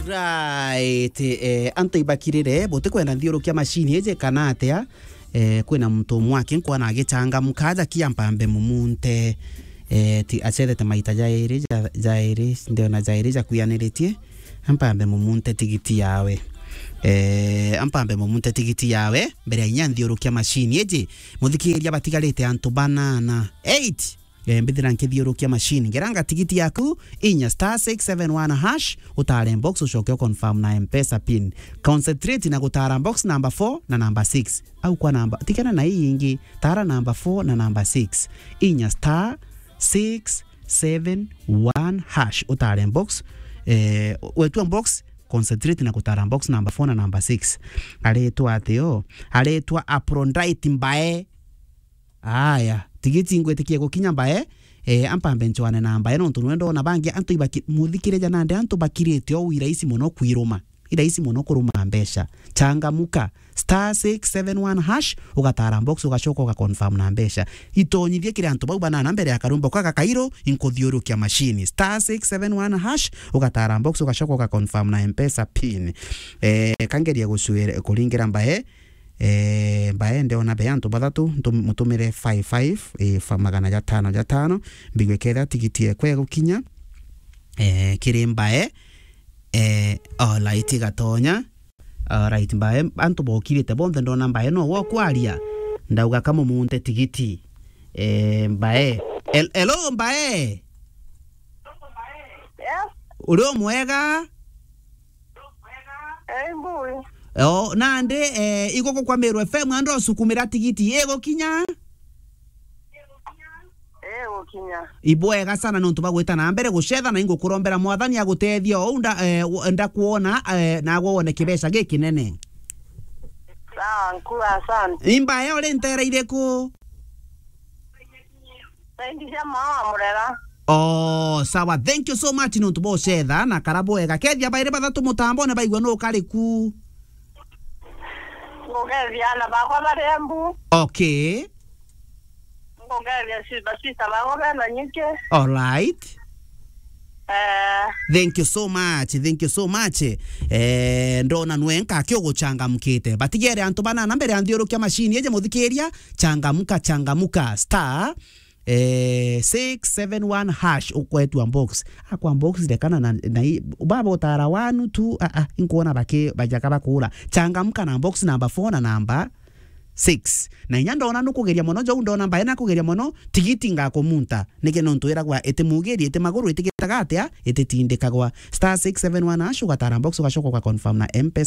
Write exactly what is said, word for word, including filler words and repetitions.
Right, eh, antu ibakirire, butikwenda nthiurukia machine iji kana atia? Eh, kwina muntu umwe aki nkwana agichangamka, aja kia mpambe mumunte. Eh, ti acethete maita jairi, ja-, jairi, ndiona jairi jakuyaniritie. Ampambe mumunte tigiti yawe. Eh, ampambe mumunte tigiti yawe, mbere ya inya nthiurukia machine iji. Muthikiria, batigarite antu banana. Eight. Eh, mbithira nkithiurukia machine. Ngeranga tigiti yaku, inya star six seven one hash, utare box, ucoke u confirm na M-Pesa pin. Concentrate na gutara box number four na number six. Au kwa namba, tigana na ii ingi, tara number four na number six. Inya star six seven one hash, utare box, eh, wetua box, concentrate na gutara box number four na number six. Aretwa atio, aretwa Aphrodite Mbae. Aya, tigiti ngwitikie gukinya Mbae, eh, ampambe nchwane na Mbae, nontu nwe ndona bangi antu ibaki-, muthikirija nandi antu bakirite o wi rahisi mono kwiruma. I rahisi mono kuruma mbeca. Changamuka. Star six seven one hash, ugatara box, ugacoka uga confirm na mbeca. Itonyithie kiri antu bau banana mbere ya karumba kwa gakairu, inkuthiurukia machine. Star six seven one hash, ugatara box, ugacoka uga confirm na M-Pesa pin. Eh, kangeria gucwire-, kuringira Mbae, eh, Mbae, ndiona be antu bathatu, ntum-, mutumire five five, eh, fa-, magana jatano jatano, mbigwe ketha tigiti ekwe gukinya, eh, kiri Mbae, eh, alright, igatonya. Alright, Mbae, antu bokirite bonthe, ndona Mbae no wokwaria, ndauga kamumunte tigiti. Eh, Mbae. Hel-, hello, Mbae. Yes. Uri o mwega? Eh, mbui. O, nandi, eh, iguku kwa Meru F M, ando sukumira tigiti, igukinya? Eh, gukinya. Ibwega sana nontu bagwita na mbere gucetha, na ingukurombera Mwathani agutethia o unda, eh, wo-, ndakwona, eh, nagwe wone kibeca gikinene. Sawa, nkuu, asante. Imbae uri ntera iriku? Saidi cia mama wa Murera. Oh, sawa. Thank you so much nontu bocetha na kara bwega. Kethia bairi bathatu mutambone baigua nu kari ku. Ngugethia ana bakwa bari Embu. Okay. Ngugethia si-, basista bakwa bena nyike. All right. Eh. Thank you so much, thank you so much. Eh, ndona nwe nkaki uguchangamkite. Batigere antu banana mbere ya nthiurukia machine ije muthikiria, changamuka, changamuka. Star, eh, six seven one hash ukwetua box. Akwa box rekana na, na i-, baba utara one, two, a, a, inkuona baki, bajaka bakura. Changamuka na box number four na number six. Na inya ndona nukugeria mono, jou ndona Mbae nakugeria mono, tigiti ngakumunta. Niki nontu iragwa iti mugiri, iti maguru, itigitaga atia, ititindikagwa. Star six seven one hash, ugatara box, ugacoka uga confirm na M-Pesa.